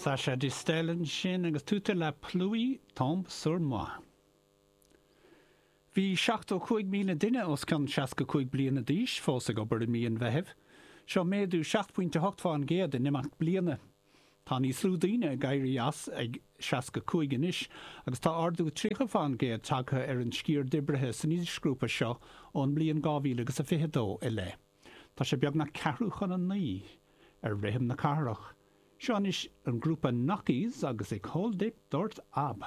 Sacha Distel ansin agus Toute la pluie tombe sur moi. Bhí 75,000 duine os cionn 65 bliana d'aois fós ag obair i mí an Mheithimh. Seo méadú 7.8 fán gcéad in imeacht bliana. Tá níos lú daoine ag éirí as ag 65 anois agus tá ardú 30 fán gcéad tagtha ar an sciar d'oibrithe san aoisghrúpa seo ón mbliain 2022 i leith. Tá sé beagnach ceathrú chun a 9 ar rithim na cathrach. Seo anois an grúpa Nokkies agus Ik hol dich dort ab.